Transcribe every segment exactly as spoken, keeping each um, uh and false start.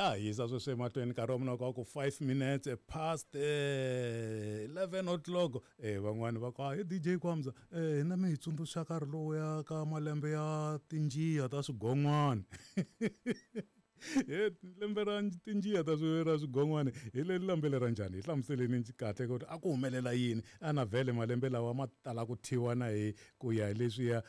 Ya hisa sweswi emahlweni nkarhi wa mina ka ku five minutes past eleven o'clock. Eh van'wani va ku hi D J Kwamza eh hina mi hi tsundzuxa nkarhi lowuya ka malembe ya tinjiya ta swigon'wana. He lembe ra tinjiya ta swi ra swigon'wana hi le lembe ra njhani hi hlamuseleni kahle ku a ku humelela yini ana vhele malembe lawa ma tala ku thyiwa na hi ku ya hi leswiya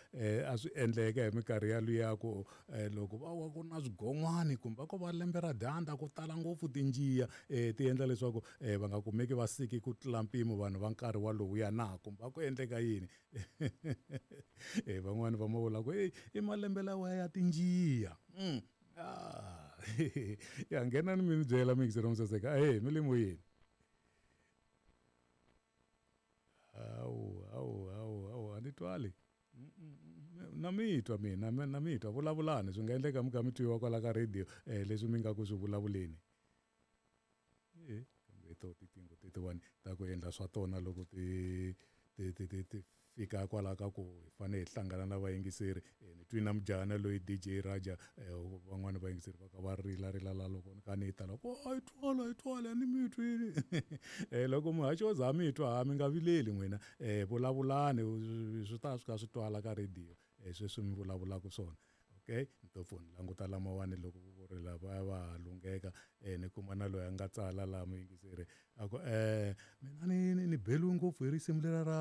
a swi endleka hi minkarhi ya luya ku loko va wa ku na swigon'wana kumbe ko va lembe ra dyandza ku tala ngopfu tinjiya ti endla leswaku va nga kumeki va siki ku tlula mpimo vanhu va nkarhi walowuya na kumbe ku endleka yini. Van'wani va ma vula ku i malembe lawa ya tinjiya. Ah, ya nghena ni mi byela mixero msaseka eh mi le moyeni. Awu awu awu awu a ni twali na mi twa mina na mi twa vulavulani swi nga endleka mi kha mi twiwa kwala ka radio eh leswi mi nga ku swi vulavuleni. Eh kambe to titingo tetiwani ta ku endla swa tona loko ti ti ti ti fika kwala ka ku hi fanele hi hlangana na vayingiseri. Ni twi na mujana loyi D J Raja van'wani vayingiseri va ka va rila rila la loko ni ka ni ta loko a yi twala yi twala ni mi twini. Eh loko muhaxi wo za mi twa mi nga vileli n'wina eh vulavulani swi ta swi ka swi twala ka radio eh sweswi mi vulavulaka swona. Okay ntopfu ni languta lamawani loko ku ri lava va lungheka eh ni kuma na loyi a nga tsala la muyingiseri a ku eh mina ni ni beliwe ngopfu hi risimu lera ra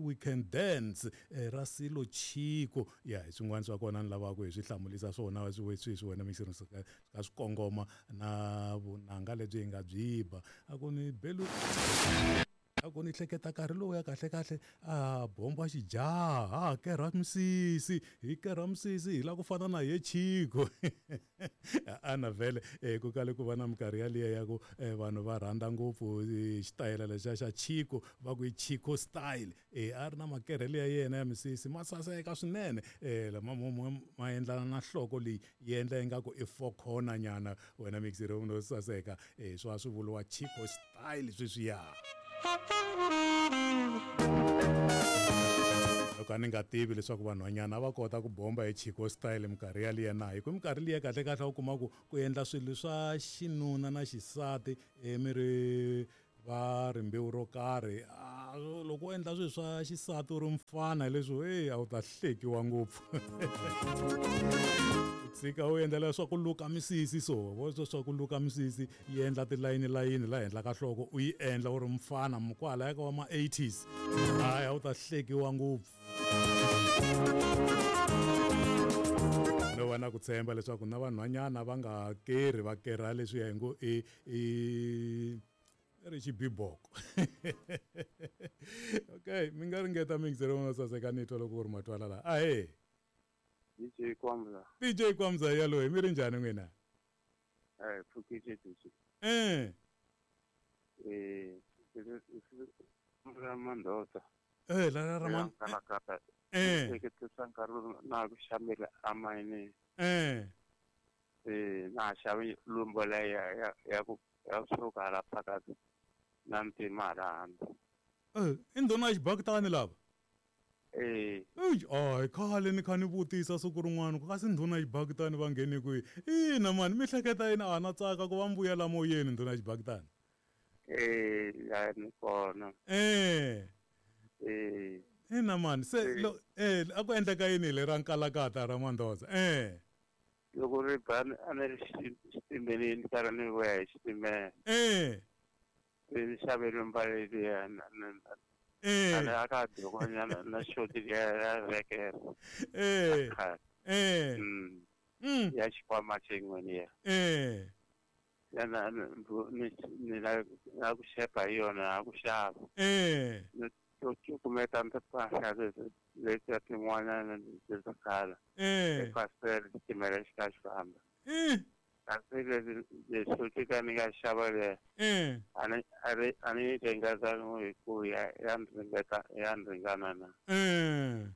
We Can Dance ra Silo Chiko. Ya hi swin'wana swa kona ni lavaka hi swi hlamulisa swona swi sweswi wena muyingiseri swi ka swi kongoma na vunanga lebyi hi nga byi ba. A ku ni beliwe a ku ni hleketa nkarhi lowu ya kahle kahle a bomba xijaha a kerha misisi hi kerha misisi hi la ku fana na ye Chiko. Ana vhele ku kale ku va na minkarhi yaliya ya ku vanhu va rhandza ngopfu xitayela lexiya xa Chiko va ku i Chiko style. Eh a ri na makerhele ya yena ya misisi ma saseka swinene eh lama ma endlana na nhloko leyi yi endla ingaku i four corner nyana wena mixero no saseka eh swa swi vuriwa Chiko style sweswiya. Loko a ni nga tivi leswaku vanhwanyana va kota ku bomba hi Chiko style minkarhi yaliya na hi ku minkarhi liya kahle kahle u kuma ku ku endla swilo swa xinuna na xisati mi ri va rimbewu ro karhi loko u endla swilo swa xisati u ri mfana leswi hey a wu ta hlekiwa ngopfu. Tshika u endla leswaku luka misisi so vo swa ku luka misisi yi endla tilayini layini la henhla ka nhloko u yi endla u ri mfana kwalaya ka wa ma eighties hayi a wu ta hlekiwa ngopfu. No va na ku tshemba leswaku na vanhwanyana va nga kerhi va kerha leswiya hi ngo i i ri xibiboko. Okay mi nga ringeta mixero wo saseka ni twa loko ku ri matwala la ahee. D J Kwamza. D J Kwamza yalo mi ri njhani n'wina? Eh pfukile D J. Eh. Eh ra Mandoza. Eh la ra Mandoza. Eh. Hleketisa nkarhi na ku xamela amayini. Eh. Eh na xavi lumbo la ya ya ku ya suka la phakathi na ntima la handle. Eh i ndhuna ya xibakitani lava? Eh. Ey, ay khale ni kha ni vutisa siku rin'wana ku kasi ndhuna ya xibakitani va nghene kwihi? Ina mani mi hleketa yini a na tsaka ku va mbuya la moyeni ndhuna ya xibakitani? Eh, ya ni kona. Eh. Eh. Ina mani se lo eh a ku endleka yini le ra Nkalakata ra Mandoza? Eh. Loko ri ba a ni ri xitimeleni karhi ni vuya hi xitimela. Eh. Ni xave lumba leliya na Eh. Ana aka dogonyana na shoti ya vekera. Eh. Eh. Mm. Mm. Ya xikwama xin'we ya. Eh. Ya na ni ni la na ku xepa hi yona ku xava. Eh. Ni to kumeta mpahla leti tin'wana leti khala. Eh. Eka xitimela xi kha xi famba. Eh. Kasi leswi leswi ka ni nga xava le. Eh. A ni a ri a ni ringeta hi ku ya ya ringeta ya ringana na. Eh.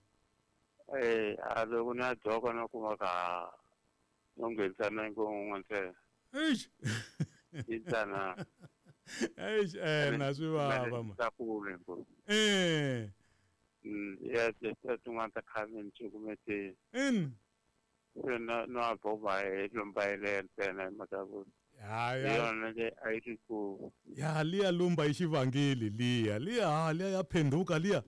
Eh a loko na dyoka na kuma ka no nghenisa na ngo ntsena. Eish. Itsana. Eish eh na swi vava ma. Ta kule ngopfu. Eh. Mm ya tin'wana ta khale ni cukumete. In. Se na na boba e lomba ile ntsena mhaka ku ya ya yona le a yi ri ku ya liya lumba i xivangeli liya liya ha liya ya phenduka liya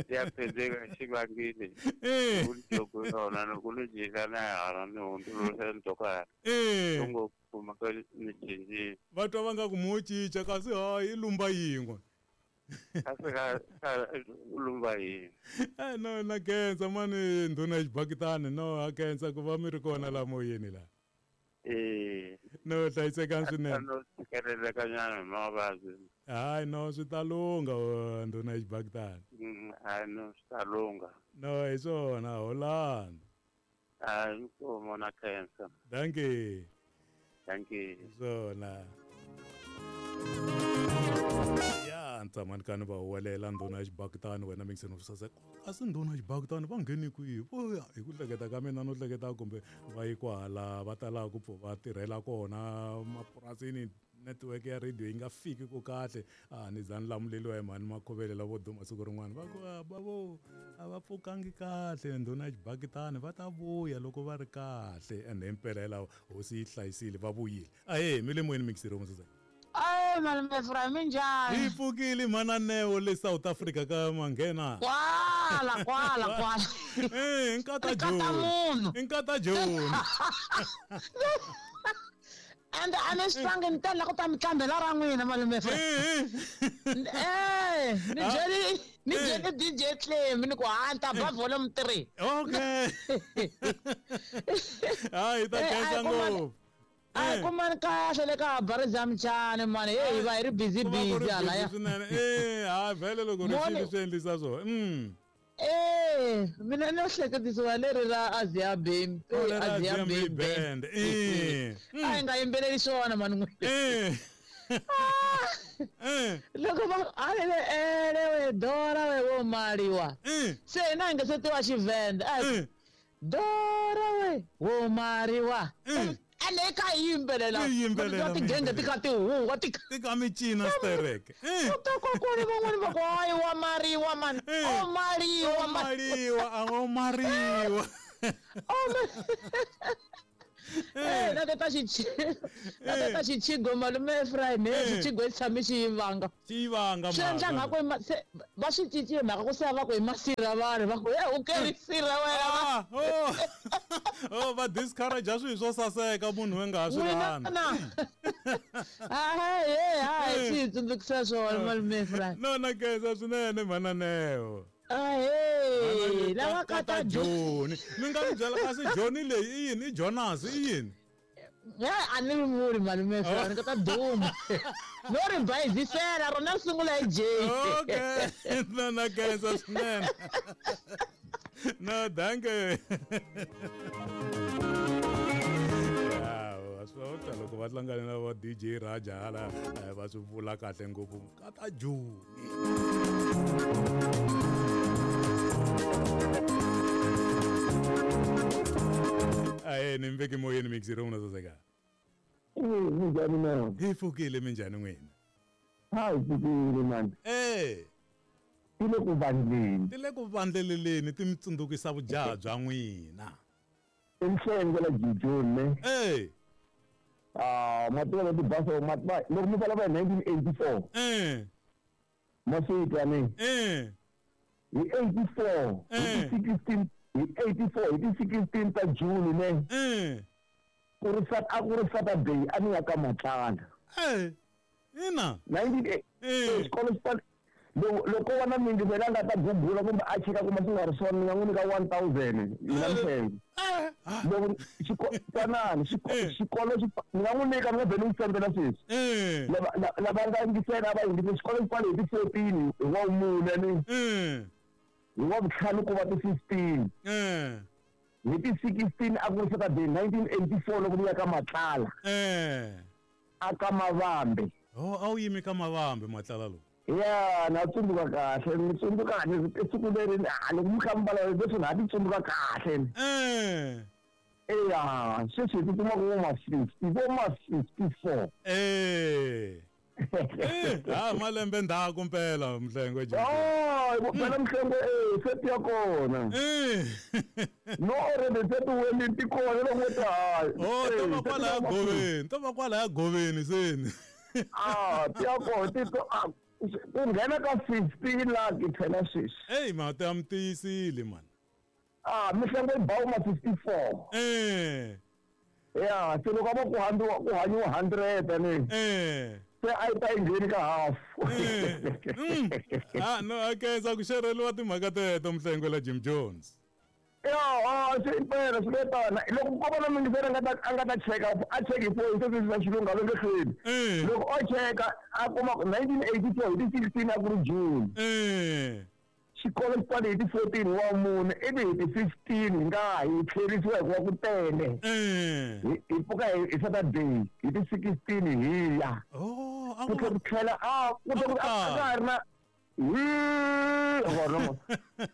ya phenduka xivangeli eh loko yona loko ni jika na hala ni hundzuluxa ntoka eh ngo kuma ka ni cinci va twa va nga ku mo cinca kasi hayi i lumba yin'we kasi ka ka lumba yin'we eh no na khensa mani ndhuna ya xibakitani no ha khensa ku va mi ri kona la moyeni la eh no hlayisekani swinene no tshikeleleka nyana hi mavabyi hayi no swi ta lungha ndhuna ya xibakitani hayi no swi ta lungha no hi swona holani hayi inkomo na khensa dankie dankie hi swona ya ntsamani kani va huwelela ndhuna ya xibakitani wena mingiseni u saseka kasi ndhuna ya xibakitani va ngheni kwihi vo ya hi ku hleketa ka mina no hleketa kumbe va yi kwahala va talaka ku pfu va tirhela kona mapurasini network ya radio yi nga fiki ku kahle a ni za ni lamuleliwa hi mhani makhovele lavo duma siku rin'wana va ku va vo a va pfukangi kahle ndhuna ya xibakitani va ta vuya loko va ri kahle ende himpela hi lawa hosi yi hlayisile va vuyile ahee mi le moyeni mixiri musasa Ay, malume Efraim minjhani? Hi pfukile mhana Neo le South Africa ka manghena. Kwala kwala kwala. Eh, nkata Nkata Joni. munhu. Nkata Joni. And a ni swi twangi ni tela ku ta mi tlambela ra n'wina malume Efraim. Eh, Eh, ni Ah. byeli ni Eh. byeli D J Clem ni ku ha ni ta ba volume three. Okay. Hayi ta Eh, khensa a hi kumani- ngopfu. A hi Eh. kumani kahle le ka Barza Mchani mani. Hey, hi va hi ri busy Ku va ku ri busy halaya. busy swinene. Eh, ha vhele loko ri Moni- xili swi endlisa swona. Mm. Eh, mina no hleketisiwa leri ra Azia Bam. Oh, leri ra Azia Azia Bam Band. Eh. A hi nga yimbeleli swona mani n'wina. Eh. Eh. Loko va alele ele we dora we wo maliwa. Eh. Se hina hi nga se tiva Xivenda. A hi Eh. dora we wo mariwa. Eh. Ene hi kha hi yimbelela. Mi yimbelela, Va mi tigenge ti kha ti huwa ti kha Ti ka mi cina stereke. Eh. U ta kokwani van'wani va ku hayi wa mariwa mani. Eh. O mariwa O mani. mariwa, a o mariwa. O ma- Eh, na tata xichi na tata xichigo malume Efraim eh Eh. xichigo xi tshame xi yivanga. Xi yivanga Swi endla mhaka. nga ku i ma- se va swi cincile mhaka ku se va ku i masirha vanhu va ku e u keri sirha wena va Ah, oh. Oh, va discourage swilo swo saseka munhu we nga ha swi n'wina rhandzi. na hayi he hayi swi hi tsundzukisa swona malume Efraim. No na khensa swinene mhana Neo. Ahee lava ka ta Joni. Mi nga mi byela kasi Joni leyi i yini? I Jonas i yini? Ya a ni ri vuli malume Efraim ni ka ta duma. No ri bayizisela rona ri sungula hi J. Okay. No na khensa swinene. No, dankie. Ya, swa ta loko va hlangane na va D J Raja hala eh, va swi vula kahle ngopfu kata Joni. Ahe ni mi veki moyeni mixiri n'wina saseka. Eh, minjhani na? Hi pfukile minjhani n'wina? Hayi pfukile mani. Eh, Ti le ku vandleni. ti le ku vandleleleni ti mi tsundzukisa vujaha bya n'wina. I nhlenge la Jijoni ne. Eh, Ah, ma tiva leti basa ma tiva loko mi vulavula hi nineteen eighty-four. eh, Ma swi twa ne? eh, Hi eighty-four, hi Eh. ti sixteen, hi eighty-four, hi ti sixteen ta June ne. eh, Ku ri Sat a ku ri Saturday a ni ya ka Matlala. eh, ina, nineteen eh, xikolo xi pfale loko loko va na mingiselo a nga ta gugula kumbe a cheka kumbe swi nga ri swona ni nga n'wi nyika one thousand mina Mhlenge. eh, ah, Loko xiko- twanani xiko- Eh. xikolo xi pfa- ni nga n'wi nyika ni nga vhe ni n'wi sendela sweswi. eh, Lava la- lava nga yingisela a va yingise xikolo xi pfale hi ti fourteen hi wa vumune ni eh, hi wa vutlhanu ku va ti fifteen eh, hi ti sixteen a ku ri Saturday nineteen eighty-four loko ni ya ka Matlala eh. a ka Mavambe. Oh, a wu yimi ka Mavambe Matlala lowu. Ya na tsundzuka kahle ni tsundzuka kahle siku leri ah, loko mi kha mi vulavula leswi na ha ti tsundzuka kahle. Eh, Eya sweswi hi ti kuma ku vo ma fifty vo ma fifty-four. eh. Eh, ha malembe ndzhaku mpela Mhlengwe Jim. Oh, phela Mhlengwe eh se ti ya kona. Eh. No already se ti weli ti kona loko ta hayi. Oh, to va kwala ya goveni, to va kwala ya goveni seni. Ah, ti ya kona ti to ku nghena ka fifteen lakh phela sweswi. Ey, mati ya mi tiyisile man. Ah, Mhlengwe bawu ma fifty-four. Eh. Yeah, se loko va ku handiwa ku hanyiwa hundred ani. Eh. Se a yi ta yi ngheni ka half. Mm. Ah, no, okay, sa ku xereliwa timhaka teto Mhlengwe la Jim Jones. Ya, ah, swi impela swi le tana. Loko ko va na mingiseri a nga ta a nga ta cheka a cheki phone se swi swa xilungu a va nge hlweli. Eh. Loko o cheka a kuma ku nineteen eighty-four hi ti sixteen a ku ri June. Eh. Xikolo xi pfale hi ti fourteen wa mune ivi hi ti fifteen hi nga hi tlherisiwa hikuva ku tele. Eh. Hi hi pfuka hi hi Saturday hi ti sixteen hi ya. Oh, a Ku ku tlhela ku tlhela a ku tlhela ku a ka ha ri na hi vona mo.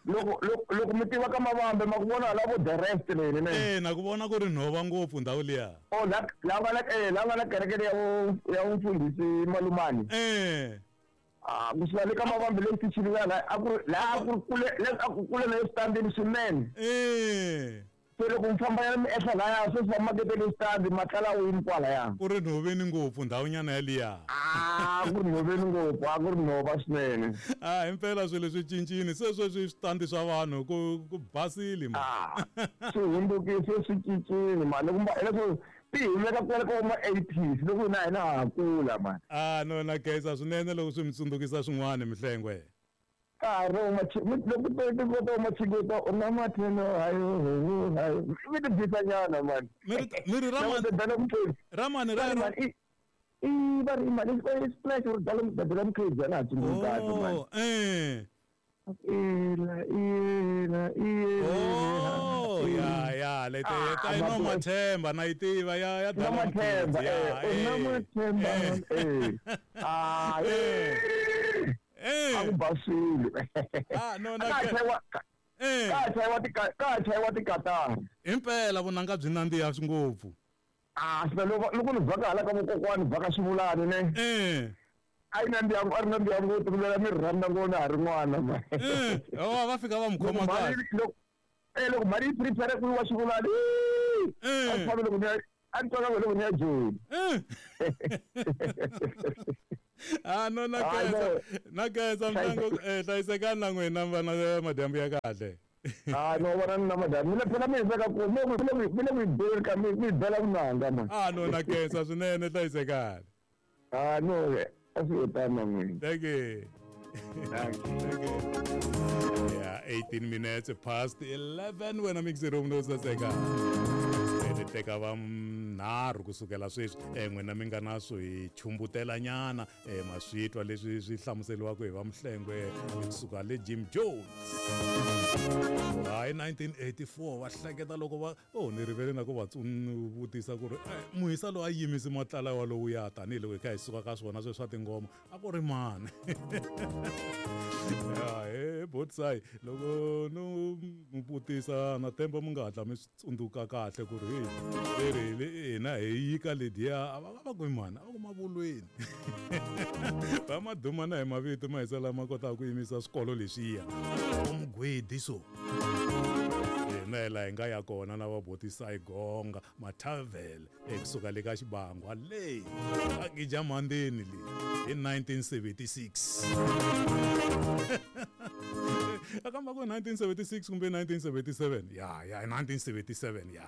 Loko loko loko mi tiva ka Mavambe ma ku vona hala vo the rest leni ne. Eh, na ku vona ku ri nhova ngopfu ndhawu liya. Oh la la nga na eh la nga na kereke ya vo ya mfundhisi Malumani. Eh. Ah, kusuka le ka Mavambe le xitichini ya la a ku ri la a ku ri kule le a ku kule na standini swinene. Eh. Se loko mi famba ya mi ehla laya sweswi va maketele xitandi matlala wini kwalaya. Ku ri nhoveni ngopfu ndhawunyana yaliya. Ah, ku ri nhoveni ngopfu, a ku ri nhova swinene. Ah, himpela swilo swi cincile se sweswi switandi swa vanhu ku ku basile man. Ah, swi hundzukile swi cincile man. Loko leswo ti humeka kwale ka ma eighties loko hina hina ha kula man. Ah, no na khensa swinene loko swi mi tsundzukisa swin'wana Mhlengwe. Ka ha ri loko ti kota machiketa u na mathelo hayo hayo mi ti bisanyana man. Mi ri mi ri ramani ramani ra ra i i va ri mani i splash ri dala dala mkhizi ana tsundzuka kahle man. Oh, eh. Ila ila ila. Oh, ya ya le te ta ino mathemba na yi tiva ya ya dala mathemba eh na mathemba eh. Ah eh. Eh. A ku basile. Ah no na ka chayiwa eh ka chayiwa ti ka chayiwa tikatara. Impela vunanga byi nandziha ngopfu. Ah, swi loko loko ni vhaka hala ka vokokwani vhaka xivulani ne. Eh. A yi nandziha a ri nandziha ngopfu ku lela mi rhandza ngopfu ha ri n'wana ma. Eh, oh va fika va mu khoma kahle. Loko eh loko mali yi prepare ku yiwa xivulani. Eh. A fambe loko ni a ni twaka loko ni ya Joni. Eh. Ah no na khensa na khensa Mhlengwe eh hlayisekani na n'wina vana madyambu ya kahle. Ah no vona na madyambu mina phela mi hisa ka ku mi mi mi mi bela ka mi mi bela vunanga man. Ah no na khensa swinene hlayisekani. Ah no a swi tano n'wina. Thank you. Thank you. Yeah, eighteen minutes past eleven wena mixi room no saseka. Teka va nharhu kusukela sweswi eh n'wina mi nga na swo hi chumbutela nyana eh maswitwa leswi swi hlamuseliwaka hi va Mhlengwe kusuka le Jim Jones. Hi nineteen eighty-four va hleketa loko va oh ni rivele na ku va vutisa ku ri muhisa loyi a yimisi matlala wa lowu ya tanihiloko hi kha hi suka ka swona sweswi swa tingoma a ku ri mani. Ya he botsai loko no vutisa na temba mi nga hatla mi swi tsundzuka kahle ku ri hey leri hina hi yika lediya a va va ku mani a va ku mavulweni. Va maduma na hi mavito mahisa lama kotaka ku yimisa swikolo leswiya umgwedi so hina hi laha hi nga ya kona na va botisai gonga mathavel ekusuka le ka xibangwa le a gija mandeni le hi nineteen seventy-six. Akamba ku nineteen seventy-six kumbe nineteen seventy-seven ya ya nineteen seventy-seven ya.